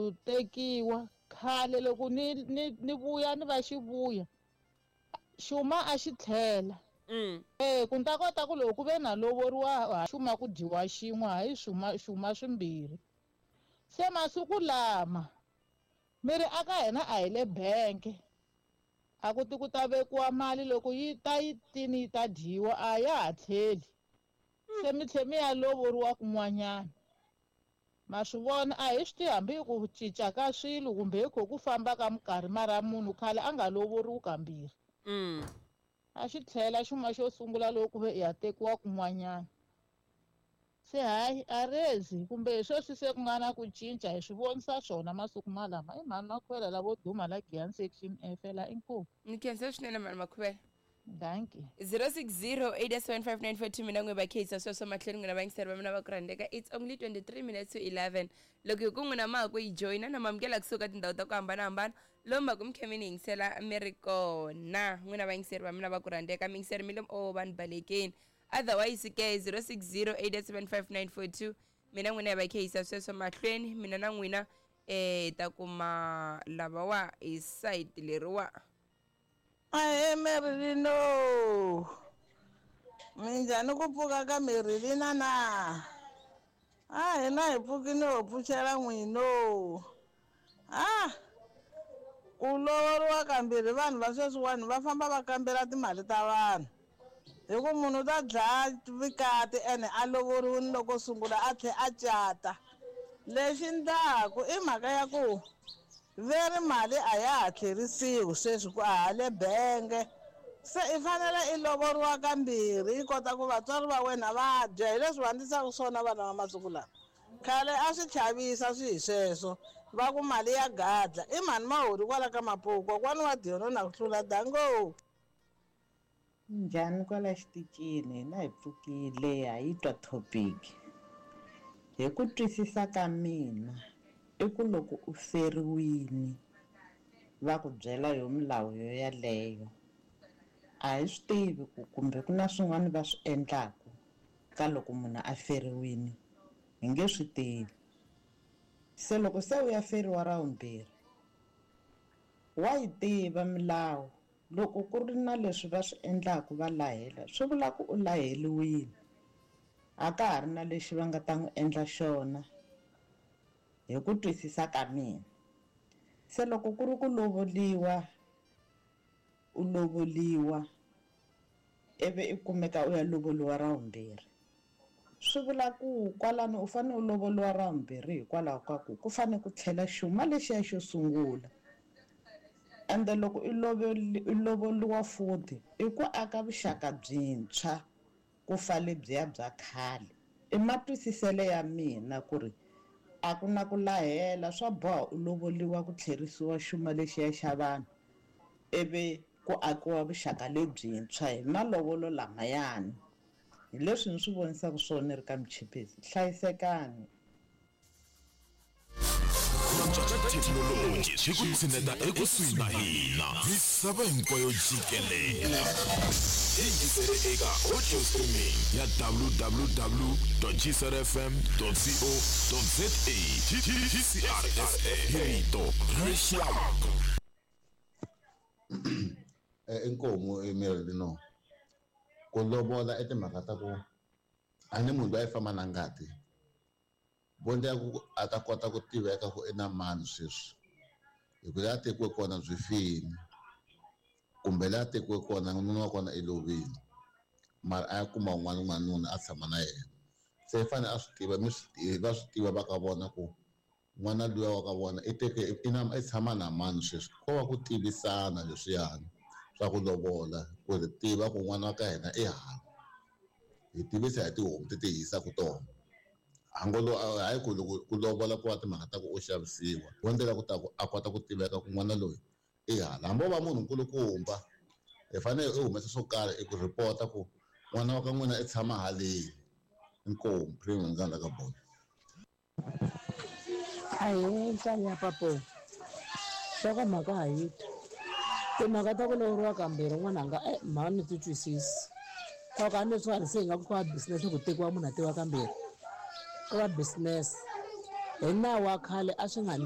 ku tekiwa khale loko ni ni ni vuya ni va xivuya xuma a xi tlhela. E ku ni ta kota ku loko ku ve na lovoriwa xuma ku dyiwa xin'we hayi xuma xuma swimbirhi. Se masiku lama mi ri aka hina a hi le bank a ku ti ku ta vekiwa mali loko yi ta yi tini yi ta dyiwa a ya ha tlheli. Se mi tlhe mi ya lovoriwa kun'wanyana. Ma swi vona a hi swi tivi hambi hi ku cinca ka swilo kumbe hi kho ku famba ka minkarhi mara munhu khale a nga lovoriwi kambirhi. A xi tlhela xuma xo sungula loko ku ve i ya tekiwa kun'wanyana. Se hayi a rezi kumbe hi sweswi se ku nga na ku cinca hi swi vonisa swona masiku malama. I mhani Makhuvela lavo duma la Giyani section F la inkomu. Ni khensa swinene mhani Makhuvela. Dankie. 060 875 mina n'we va kheyisa sweswo mahlweni n'wina vayingiseri va mina va ku rhandzeka. It's only 23 minutes to 11. Loko hi ku n'wina ma ha ku yi joyina na mamukela kusuka tindhawu ta ku hambanahambana lomu va ku mi khe mi ni yingisela mi ri kona n'wina vayingiseri va mina va ku rhandzeka mi yingiseri mi le o vanhu balekeni. Otherwise ke 060 875 mina n'wina hi va kheyisa sweswo mahlweni mina na n'wina eh ta kuma lavawa hi site leriwa. Ahee Merilino, minjhani ku pfuka ka Merilina na? A hina hi pfukile ho pfuxela n'wino. Ah, ku lovoriwa kambirhi vanhu va sweswiwani va famba va kambela timali ta vanhu. Hi ku munhu u ta dlaya vikati ene a lovoriwile loko sungula a tlhe a cata. Lexi ndlaku i mhaka ya ku veri mali a ya ha tlherisiwi sweswi ku a ha le benge. Se i fanele i lovoriwa kambirhi i kota ku vatswari va wena va dya hi leswi va endlisaka swona vana va masiku lawa. Khale a swi chavisa swi hi sweswo va ku mali ya gadla i mhani Mahori kwala ka Mapuku kokwani wa Diyono na ku hlula dango. Njhani kwala xitichini hina hi pfukile ha yi twa topic. Hi ku twisisa ka mina i ku loko u feriwini va ku byela yo milawu yo yaleyo a hi swi tivi ku kumbe ku na swin'wana va swi endlaku ka loko munhu a feriwini hi nge swi tivi. Se loko se u ya feriwa ra vumbirhi wa yi tiva milawu loko ku ri na leswi va swi endlaku va lahela swi vula ku u laheliwile a ka ha ri na lexi va nga ta n'wi endla xona hi ku twisisa ka mina. Se loko ku ri ku lovoliwa u lovoliwa ivi i kumeka u ya lovoliwa ra vumbirhi swi vula ku kwalano u fanele u lovoliwa ra vumbirhi hikwalaho ka ku ku fanele ku tlhela xuma lexiya xo sungula. Ende loko i lovoliwa futhi i ku aka vuxaka byintshwa ku fa lebyiya bya khale. I matwisiselo ya mina ku ri a ku na ku lahela swa boha u lovoliwa ku tlherisiwa xuma lexiya xa vanhu ivi ku akiwa vuxaka lebyintshwa hi malovolo lamayani. Hi leswi ni swi vonisaka swona ri ka Michipisi. Hlayisekani. Thekinoloji swi ku tshineta ekusuhi na hina misava hinkwayo jikelele. Yingisele eka audio streaming ya www.gcrfm.co.za GCRSA hi rito ra rixaka. Inkomu Emerilino ku lovola i timhaka ta ku a ni munhu loyi a yi famba na ngati vo ndlela ku a ta kota ku tiveka ku i na mani sweswi hi ku laha tekiwe kona byi fini kumbe laha tekiwe kona nuna wa kona i lovile mara a ya kuma un'wana n'wanuna a tshama na yena. Se i fanele a swi tiva mi swi tiva va swi tiva va ka vona ku n'wana luya wa ka vona i teke i na i tshama na mani sweswi. Ko va ku tivisana leswiyani swa ku lovola ku ri tiva ku n'wana wa ka hina i hala hi tivisa hi tihomu ti ti hisaka tona. Hangolo hayi ku loko ku lovola ku va timhaka ta ku u xavisiwa wo ndlela ku ta ku a kota ku tiveka ku n'wana loyi i hala. Hambi o va munhu nkulukumba hi fanele i humesa swo karhi i ku report-a ku n'wana wa ka n'wina i tshama haleni. Inkomu premium ndza ka bolo. Ahee nhlanga ya papo nhlokomhaka ha yi twa timhaka ta ku lovoriwa kambirhi n'wananga e mhani ni ti twisisi swa ku a ni swi se hi nga ku ka business ku tekiwa munhu a tekiwa kambirhi ku va business hi nawu wa khale a swi nga.